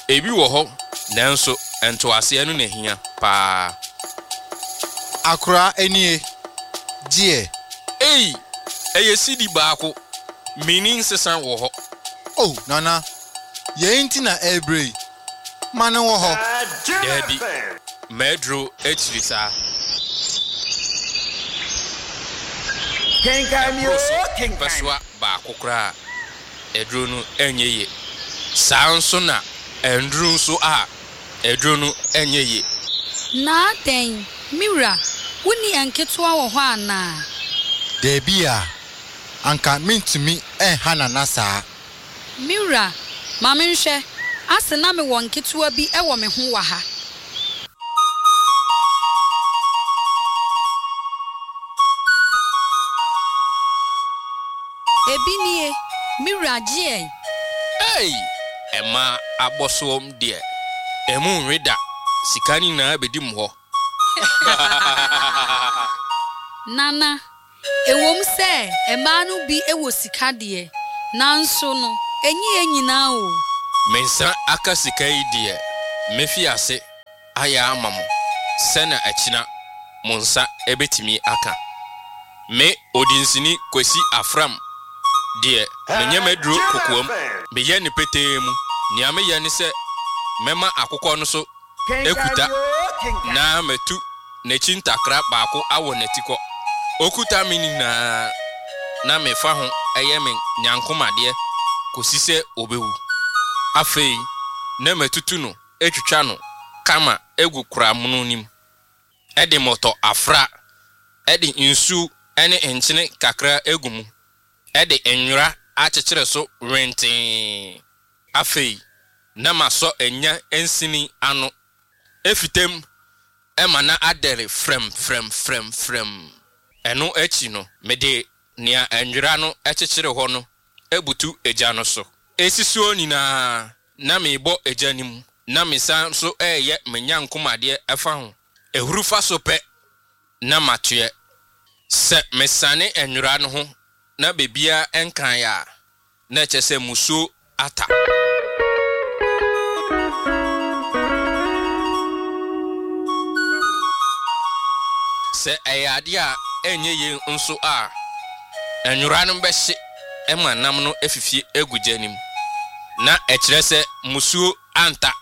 Ebi wɔ hɔ nanso ntoaseɛ no na ehia paa. Akora nie, gyeɛ. Ei! Ɛyɛ cedi baako, menni nsesa wɔ hɔ. Oh Nana, yei nti na ɛrebrɛ yi, ma no wɔ hɔ. Daabi, m'aduro akyiri saa. Ɛboro so bɛsoa baako koraa a, aduro no nyɛ yie. Saa ara nso na ɛnnuru nso a, aduro no nyɛ yie. Na adɛn, me wura, wonni nketewa wɔ hɔ anaa? Dabi a, anka mentumi nha Nana saa. Me wura, ma menhwɛ, ase na mewɔ nketewa bi wɔ me ho wɔ ha. Ebi nie, me wura, gye ɛ. Ei! Ɛmaa abɔsoɔm deɛ, ɛmu nwe da, sika no nyinaa bɛdi mo hɔ. Nana, ɛwom sɛ mmaa no bi wɔ sika deɛ, nanso no, ɛnyɛ yɛn nyinaa o. Me nsa aka sika yi deɛ, mɛfi ase ayɛ ama mo sɛnea akyina mo nsa bɛtumi aka. Me Odinsini Kwesi Afram deɛ, menyɛ m'aduro kokoam, meyɛ no petee mu. Nea meyɛ ne sɛ mɛma akokɔ no so akuta na matu n'akyi ntakra baako awɔ n'atikɔ. Ɔkuta me nyinaa na mefa ho yɛ me nyankomadeɛ kɔsi sɛ ɔbɛwu. Afei na matutu no atwitwa no kama agu kora mono no mu de mmɔtɔ afra de nsu ne nkyene kakra agu mu de nwera akyekyere so wentee. Afei na masɔ anya nsini ano afitam ma na adɛre frɛmfrɛmfrɛmfrɛm. Ɛno akyi no, mede nea nwera no kyekyere hɔ no abutu gya no so. Esi soɔ nyinaa, na merebɔ gya no mu, na mesan nso reyɛ me nyankomadeɛ fa ho. Ahuru fa so pɛ na matoɛ. Sɛ mesane nwera no ho na baabiara nkaeɛ a, na ɛkyerɛ sɛ musuo ata. Sɛ ɛyɛ adeɛ a ɛnyɛ yie nso a, nwera no bɛhye ma nam no afifie agu gya no mu, na ɛkyerɛ sɛ musuo anta.